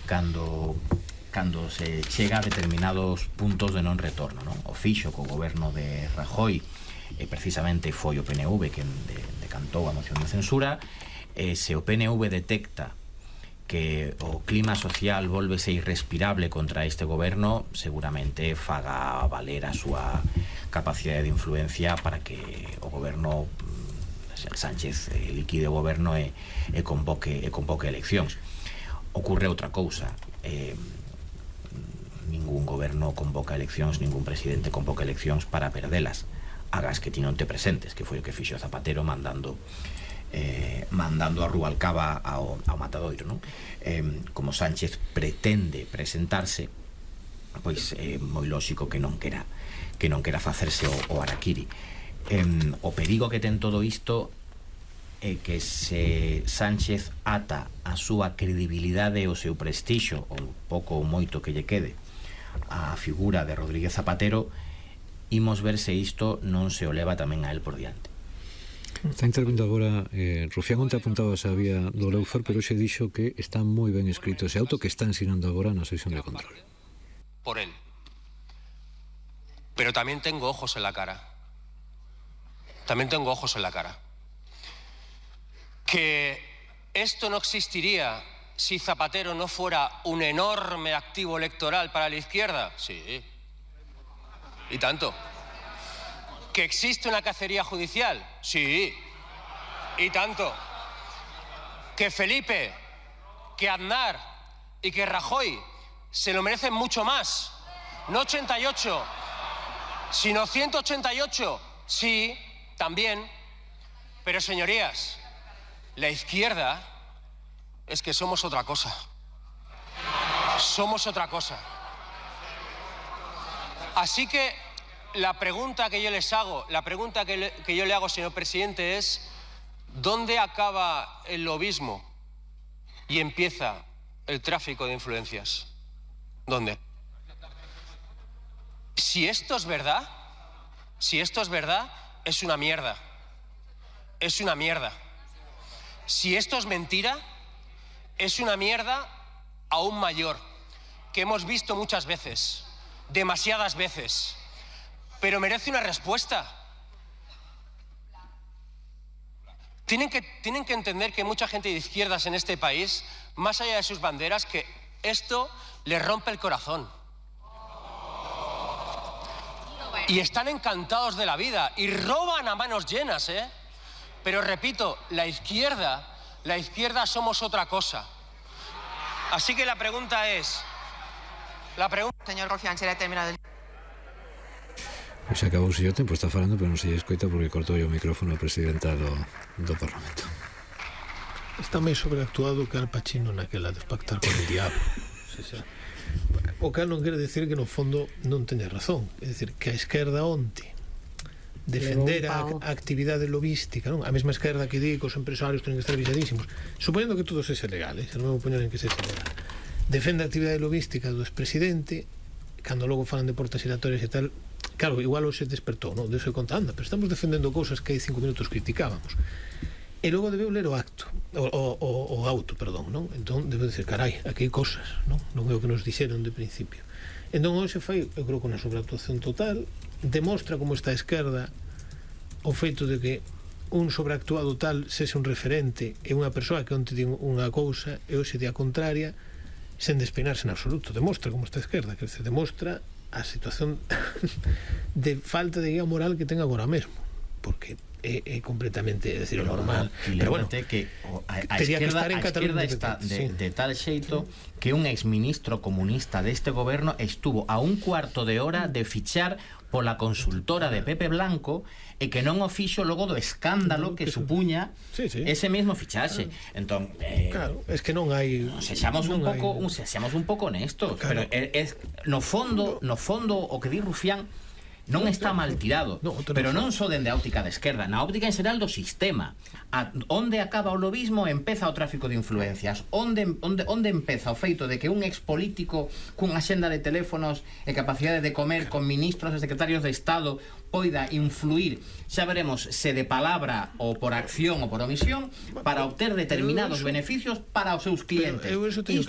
cando se chega a determinados puntos de non retorno, non? O fixo co goberno de Rajoy precisamente foi o PNV que decantou a moción de censura. Se o PNV detecta que o clima social volvese irrespirable contra este goberno, seguramente faga valer a súa capacidade de influencia para que o goberno Sánchez liquide o goberno e convoque eleccións. Ocorre outra cousa, ningún goberno convoca eleccións, ningún presidente convoca eleccións para perdelas, hagas que ti non te presentes, que foi o que fixo Zapatero mandando a Rubalcaba ao matadoiro, non? Como Sánchez pretende presentarse, pois é moi lóxico que non quera facerse o harakiri. O perigo que ten todo isto é que se Sánchez ata a súa credibilidade e o seu prestixio, o pouco ou moito que lle quede, a figura de Rodríguez Zapatero, imos ver se isto non se o leva tamén a él por diante. Está intervindo agora Rufián. Onte apuntaba a vía do Leufer, pero xe dixo que está moi ben escrito ese auto que está ensinando agora na sesión de control. Por él. Pero también tengo ojos en la cara. Que esto no existiría si Zapatero no fuera un enorme activo electoral para la izquierda. Sí. Y tanto. ¿Que existe una cacería judicial? Sí. Y tanto. ¿Que Felipe, que Aznar y que Rajoy se lo merecen mucho más? No 88, sino 188. Sí, también. Pero señorías, la izquierda es que somos otra cosa. Somos otra cosa. Así que la pregunta que yo les hago, que yo le hago, señor presidente, es ¿dónde acaba el lobismo y empieza el tráfico de influencias? ¿Dónde? Si esto es verdad, es una mierda. Es una mierda. Si esto es mentira, es una mierda aún mayor, que hemos visto muchas veces, demasiadas veces. Pero merece una respuesta. Tienen que entender que mucha gente de izquierdas en este país, más allá de sus banderas, que esto les rompe el corazón. Y están encantados de la vida y roban a manos llenas, ¿eh? Pero repito, la izquierda somos otra cosa. Así que la pregunta es... Señor Rufián, será terminado el... Se acabou o seu tempo, está falando, pero non se lle escoita porque cortou o micrófono a presidenta do Parlamento. Está máis sobreactuado que Al Pacino naquela de Pactar con el Diablo. O cal non quere decir que no fondo non teña razón. É dicir, que a esquerda onte defender a actividade lobística, non? A mesma esquerda que di que os empresarios teñen que estar visadísimos, supoñendo que todo sexa legal, non me poñen en que sexa legal, defende a actividade lobística do expresidente, cando logo falan de portas giratorias e tal. Claro, igual hoxe despertou, non? Deus se conta, anda, pero estamos defendendo cousas que hai 5 minutos criticábamos. E logo debeu ler o auto, non? Entón debeu dizer, carai, aquí hai cosas, non é o que nos dixeron de principio. Entón hoxe fai, eu creo que unha sobreactuación total, demostra como está a esquerda o feito de que un sobreactuado tal sexa un referente e unha persoa que onte din unha cousa e hoxe di a contraria sen despeinarse en absoluto. Demostra como está a esquerda, que se demostra a situación de falta de guía moral que ten agora mesmo, porque é completamente, é dicir, normal. Pero bueno, que a esquerda está de tal xeito que un exministro comunista deste goberno estuvo a un cuarto de hora de fichar pola consultora de Pepe Blanco e que non o fixo logo do escándalo que supuña ese mesmo fichaxe. Entón, claro, es que non hai, sexamos un pouco honestos, pero no fondo o que di Rufián non está mal tirado, pero non só dende a óptica da esquerda, na óptica en xeral do sistema. Onde acaba o lobismo empeza o tráfico de influencias, onde empeza o feito de que un expolítico cunha xenda de teléfonos e capacidade de comer con ministros e secretarios de Estado poida influir, xa veremos se de palabra ou por acción ou por omisión, para obter determinados beneficios para os seus clientes. Eu eso teño claro.